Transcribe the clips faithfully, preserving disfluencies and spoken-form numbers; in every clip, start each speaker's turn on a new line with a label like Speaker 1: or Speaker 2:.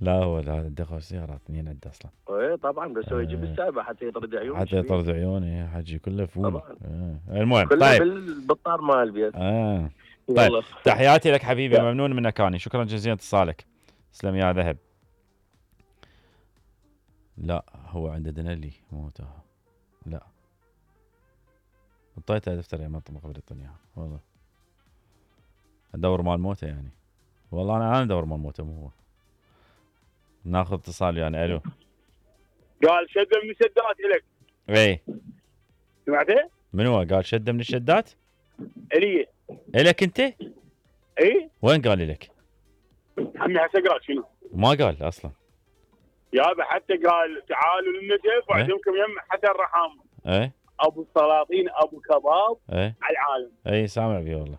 Speaker 1: لا هو هذا دخل سيارات اثنين عنده اصلا.
Speaker 2: ايه طبعا بس هو يجيب السابع حتى يطرد عيونه.
Speaker 1: حتى يطرد عيونه حجي كله فول.
Speaker 2: طبعا.
Speaker 1: آه. المهم
Speaker 2: كله
Speaker 1: طيب
Speaker 2: بالطار مال البيت.
Speaker 1: اه طيب تحياتي لك حبيبي، ممنون منك اني، شكرا جزيلا اتصالك. تسلم يا ذهب. لا هو عنده دنلي مو تاها. لا اعطيته دفتر يا منطقه قبل يعطيني اياها والله. ادور مال موته يعني. والله انا انا ادور مال موته مو هو. ناخذ اتصال يعني. الو.
Speaker 3: قال شده من الشدات الك.
Speaker 1: اي
Speaker 3: سمعته؟
Speaker 1: من هو قال شده من الشدات؟
Speaker 3: الي.
Speaker 1: الك انت؟
Speaker 3: اي
Speaker 1: وين قال لك؟
Speaker 3: عمي هسه قال شنو؟
Speaker 1: ما قال اصلا.
Speaker 3: يابا حتى قال تعالوا للنجف وعندكم يم حتى الرحم.
Speaker 1: ايه
Speaker 3: ابو السلاطين ابو كباب.
Speaker 1: ايه
Speaker 3: على العالم.
Speaker 1: اي سامع بيه والله.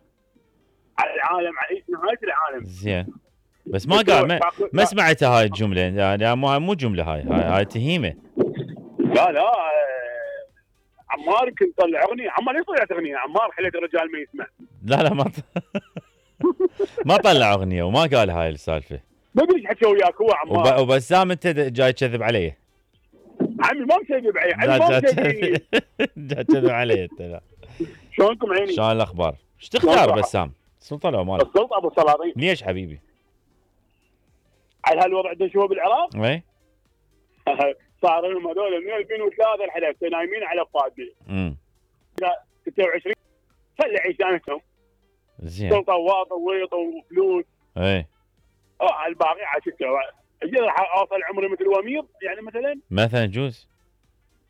Speaker 3: على العالم على نهايه العالم.
Speaker 1: زين بس ما قال ما, ما سمعت هاي الجمله يعني مو مو جمله هاي هاي, هاي تهيمه.
Speaker 3: لا لا عمار كنت طلع اغنيه. عمار ليش طلعت اغنيه؟ عمار حلت الرجال ما يسمع.
Speaker 1: لا لا ما ط... ما طلع اغنيه وما قال هاي السالفه.
Speaker 3: ما ادري ايش حكى وياك هو عمار.
Speaker 1: وب... وبسام انت جاي تكذب علي.
Speaker 3: عمي ما مكذب علي. عمي ما مكذب.
Speaker 1: جاي تكذب علي انت. لا
Speaker 3: شلونكم عيني؟
Speaker 1: شلون الاخبار؟ ايش تختار بسام؟ السلطه لو مالك؟
Speaker 3: السلطه ابو السلاطين.
Speaker 1: ليش حبيبي؟
Speaker 3: على هالوضع اللي نشوفه بالعراق؟
Speaker 1: اي
Speaker 3: صار لهم هذول من ألفين وثلاثة لحد نايمين على فاضي.
Speaker 1: امم
Speaker 3: ستة وعشرين خلي عيشانتهم.
Speaker 1: زين.
Speaker 3: سلطه واطه وويط وفلوس.
Speaker 1: اي
Speaker 3: اه الباقي عاشته. اجي راح اوصل عمري مثل وميض يعني مثلا.
Speaker 1: مثلا يجوز.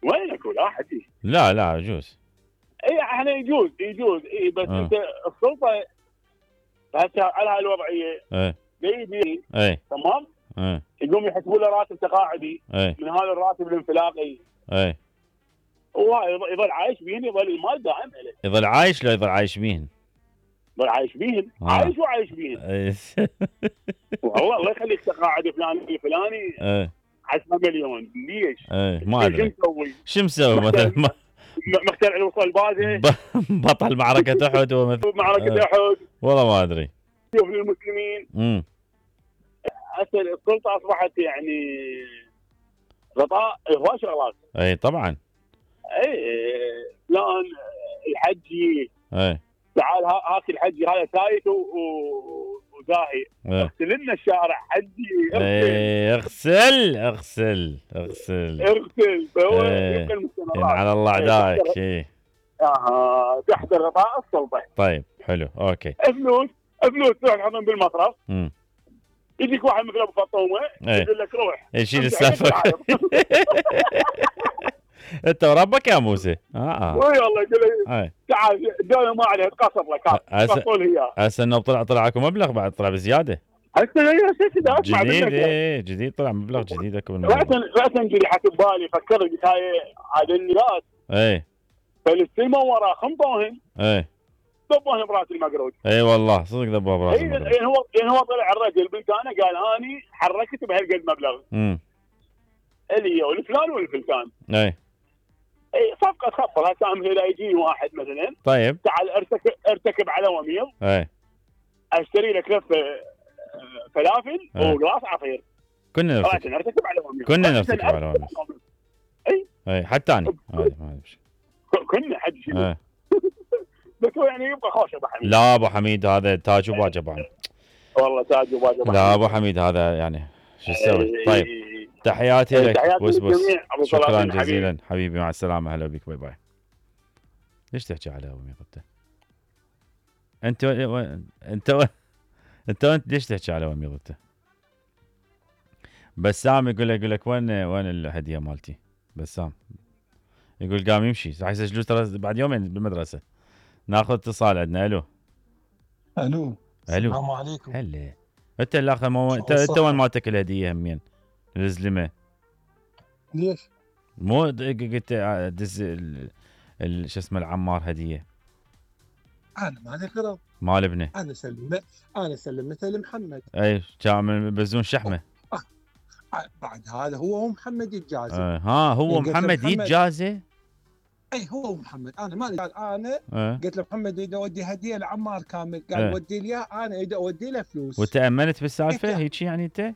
Speaker 3: وينك ولا حدي؟
Speaker 1: لا لا يجوز.
Speaker 3: اي احنا يجوز يجوز اي بس
Speaker 1: آه.
Speaker 3: انت السلطه هسه على هالوضعيه.
Speaker 1: اي
Speaker 3: بيدي.
Speaker 1: اي
Speaker 3: تمام؟
Speaker 1: اي
Speaker 3: يقوم يحسبوا له راتب تقاعدي.
Speaker 1: اي
Speaker 3: من هذا الراتب الانفلاقي.
Speaker 1: اي
Speaker 3: وهاي يظل عايش بيهن. يظل المال دائم له.
Speaker 1: يظل عايش لو يظل عايش بيهن؟
Speaker 3: يظل عايش بيهن.
Speaker 1: آه.
Speaker 3: عايش وعايش بيهن. والله الله يخليك تقاعد فلاني فلاني.
Speaker 1: اي
Speaker 3: عشرة مليون ليش؟
Speaker 1: اي ما ادري
Speaker 3: شو مسوي؟
Speaker 1: شو مسوي مثلا؟
Speaker 3: مخترع الوصل بازه.
Speaker 1: بطل معركة احد ومثل
Speaker 3: معركة احد.
Speaker 1: والله ما ادري.
Speaker 3: شوف للمسلمين.
Speaker 1: امم
Speaker 3: هسه السلطه اصبحت يعني غطاء هواي شغلات.
Speaker 1: اي طبعا.
Speaker 3: اي فلان الحجي.
Speaker 1: اي
Speaker 3: تعال هاك الحجي هذا سايت وزاهي. اغسل لنا الشارع حجي.
Speaker 1: اي اغسل اغسل اغسل
Speaker 3: اغسل. فهو
Speaker 1: اي على الله عداك. اي
Speaker 3: اها تحت غطاء السلطه.
Speaker 1: طيب حلو اوكي.
Speaker 3: فلوس فلوس تروح تحطهم بالمصرف.
Speaker 1: امم
Speaker 3: يجيك واحد مثل ابو فطومه يقول لك روح
Speaker 1: يشيل السالفه. انت وربك يا موسى. اه
Speaker 3: اي والله يقول لي تعال الدوله ما عليها تقصر لك. قصوا لي اياه.
Speaker 1: هسه انه طلع طلع اكو مبلغ بعد طلع بزياده.
Speaker 3: هسه هي هسه
Speaker 1: جديد. ايه جديد طلع مبلغ جديد اكو من
Speaker 3: راسا راسا جري حسب بالي فكرت قلت هاي عاد الناس.
Speaker 1: اي
Speaker 3: فلسطين ورا خنطوهن.
Speaker 1: اي
Speaker 3: ذبوهن براس المقروج.
Speaker 1: اي والله صدق ذبوه براس المقروج.
Speaker 3: يعني هو يعني هو طلع الرجل بلتانه قال اني حركت بهالقد مبلغ.
Speaker 1: امم
Speaker 3: اللي هو الفلان والفلتان.
Speaker 1: اي
Speaker 3: اي صفقه تخبر. هسه مثلا يجيني واحد مثلا.
Speaker 1: طيب
Speaker 3: تعال ارتكب ارتكب على وميض.
Speaker 1: اي
Speaker 3: اشتري لك لفه فلافل وقلاص عصير.
Speaker 1: كنا نرتكب
Speaker 3: نرتكب على وميض.
Speaker 1: كنا نرتكب على وميض. اي اي حتى انا
Speaker 3: كنا حد شنو. بس هو يعني يبقى خوش ابو حميد.
Speaker 1: لا ابو حميد هذا تاج وباجبان.
Speaker 3: والله تاج وباجبان.
Speaker 1: لا ابو حميد هذا يعني شو تسوي. طيب تحياتي لك بس بس شكرا جزيلا حبيبي مع السلامه. هلا بك باي باي. ليش تحكي على ابو ميض انت؟ انت انت انت انت ليش تحكي على ابو ميض انت؟ بسام يقول لك يقول لك وين وين الهديه مالتي؟ بسام يقول قام يمشي راح يسجلوا ترى بعد يومين بالمدرسه. ناخذ اتصال عندنا. الو
Speaker 4: الو السلام عليكم.
Speaker 1: هلا انت الاخر مو انت انت وين مالتك الهديه همين الزلمه؟
Speaker 4: ليش؟
Speaker 1: مو قلت دز ال شو اسمه العمار هديه.
Speaker 4: انا مالي غرض.
Speaker 1: مال ابنه.
Speaker 4: انا سلمت انا سلمته لمحمد.
Speaker 1: اي كان بزون شحمه.
Speaker 4: آه. آه. بعد هذا هو ومحمد يتجازى.
Speaker 1: آه. ها هو محمد يتجازى.
Speaker 4: اي هو ومحمد. انا مالي قال انا
Speaker 1: آه.
Speaker 4: قلت له محمد اريد اودي هديه لعمار كامل. قال
Speaker 1: آه.
Speaker 4: ودي لي اياه. انا اريد اودي له فلوس.
Speaker 1: وتامنت بالسالفه هيك يعني انت؟